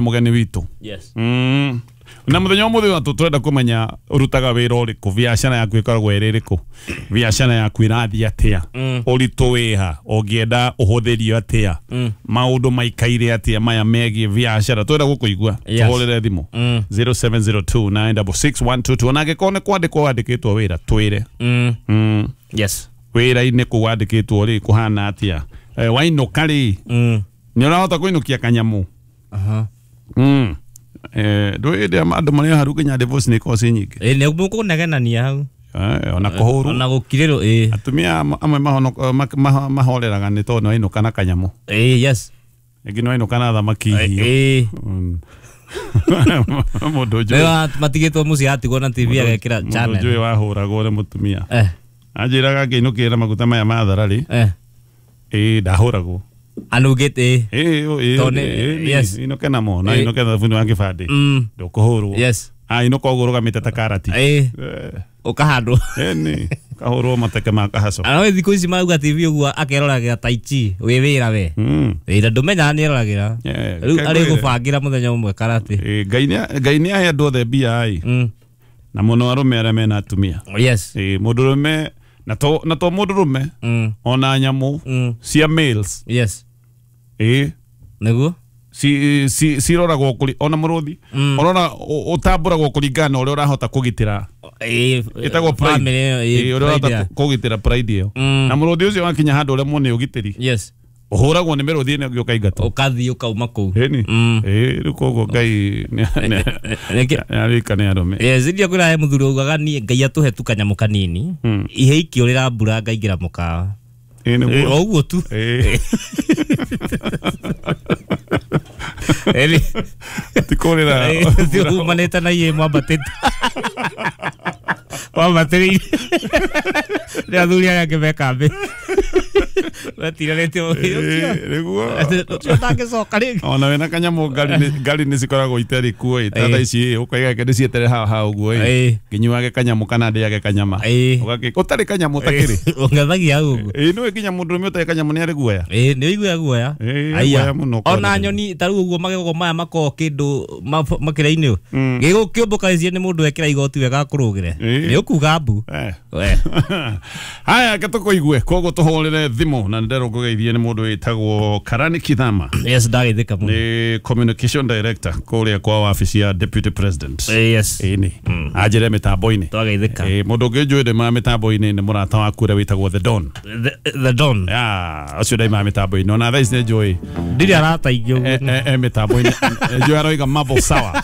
Mugeni witũ. Yes. Na muthenya ũmũthĩ watu twenda kũmenya ũrutaga wĩra ũrĩkũ, biacara yaku ĩkoragwo ĩrĩ ĩrĩkũ, biacara yaku ĩrathiĩ atĩa, ũritũ wĩha, ũngĩenda ũhũthĩrio atĩa, maũndũ maikaire atĩa maya megiĩ biacara. Twenda gũkũigua. Yes. Tũhũrĩre thimũ 0702966122, ona angĩkorwo nĩ kwandĩkwo wandĩkĩtwo wĩra, twĩre. Yes. Wĩra-inĩ kũu wandĩkĩtwo rĩ, kũhana atĩa? Wainũka rĩ, nĩ ũrahota kũinũkia kanyamũ? Aha. Ndũĩ hĩndĩ ĩrĩa andũ marĩ haru nginya divorce nĩ ikoragwo ciĩ nyingĩ. Ĩ nĩ mũkũnegenania hau. Ona kũhũrwo. Ona gũkirĩrwo ĩ. Atumia amwe mahoreraga nĩ tondũ nĩwainũka na kanyamũ. Ĩ yes. Rĩngĩ nĩwainũka na thamaki hiũ. Ĩ. Mũndũ njũĩ. Rĩu matigĩtwo mũciĩ atigwo na TV agekĩra Mũndũ channel. njũĩ wahũragwo nĩ mũtumia. Eh. Anjĩraga ngĩinũkĩra maguta maya ma thararĩ. Eh. Ĩ ndahũragwo. Anugĩte ĩ. Ĩ ĩ. Tondũ nĩ- yes. Inũke namo na Ĩ. inũke thabuni wa kĩbandĩ. Ndũkũhũrwo. Yes. Ah, inũka ũguo ũrũgamĩte ta karati. Ĩ. Ũkahandwo. Ĩni kahũrwo mateke ma kahaco. Ana we thikũ ici marauga TV ũguo akeroragĩra tai chi wĩ wĩra we. Wĩra ndũmenyaga nĩ eroragĩra. Yeah, Rĩu reke arĩ ngwĩre. gũbangĩra mũthenya ũmwe karate. Ngai nĩ ahe andũ othe mbia ĩ, na mũno arũme arĩa mena atumia. Yes. Mũndũrũme na to mũndũrũme, ona nyamũ cia males. Yes. Ĩ Nĩguo? ciroragwo kũri ona mũrũthi ũrona ũtambũragwo kũringana na ũrĩa ũrahota kũgitĩra. Ĩ Ĩtagwo pride. family ĩyo, Ĩ, ĩ, ũrĩa pride ũrahota kũgitĩra pride ĩyo. Na mũrũthi ũcio wakinya handũ ũremwo nĩ ũgitĩri, Yes. ũhũragwo nĩ mĩrũthi ĩno ĩngĩ ũkaingatwo. Ũkathiĩ ũkauma kũu. Ĩni. Ĩ rĩu koguo Ngai nĩarĩka nĩ arũme. Yes, ndio kwĩra he mũthuri augaga niĩ Ngai atũhe tu kanyamũ kanini. Ihe ikĩũrĩra mbura ngaingĩra mũkawa. Ĩ nĩguo. O ũguo tu. Ĩ. Ĩni. Ti kũrĩra. Ti umanĩte na iĩ mwambatĩte. Mwambatĩrĩire. Nĩ athuri arĩa angĩ me kambĩ. Metiranĩtie Ĩ, nĩguo. ũcio ũtangĩcoka rĩngĩ. Ona wĩna kanyamũ ngari nĩ cikoragwo itarĩ kuo ĩ, ta Ĩ. thaa ici ĩ, ũkaiga reke ndĩcietere haha haha ũguo ĩ, Ĩ. nginyuage kanyamũ kana ndĩage kanyama. Ĩ. Ũtarĩ kanyamũ ũtakĩrĩ. Ũngethagia hau ũguo. Ĩ nĩũĩ nginya mũndũrũme ũtarĩ kanyamũ nĩ arĩ guoya. Ĩ nĩ ũiguaga guoya. Ĩ, Aya. guoya mũno Ona kwenda. nyoni ta rĩu ũguo magego maya makoragwo kĩndũ makĩra-inĩ. Gĩgũkĩũmbũka icio nĩ mũndũ ekĩra igoti wega akũrũgĩre. Ĩ. Nĩ ũkuga mbu. Eh. We. Haya, reke tũkũigue, koguo tũhũrĩre thimũ na nĩnderwo ngũgeithie nĩ mũndũ wĩtagwo Karani Kithama. Yes, ndagĩthĩka mũno. Nĩ communication director kũrĩa kwa wabici ya deputy president. Yes. Ĩni anjĩre mĩtambo-inĩ. Twageithĩka. Ĩ, mũndũ ũngĩ njũĩ ndĩmaga mĩtambo-inĩ nĩ mũrata waku ũrĩa wĩtagwo The Don. The Don. Ya, ũcio ndaimaga mĩtambo-inĩ ona thaa ici nĩ njũĩ. Ndirĩ arata ingĩ ũguo. Mĩtambo-inĩ njũĩ aroiga mambo sawa.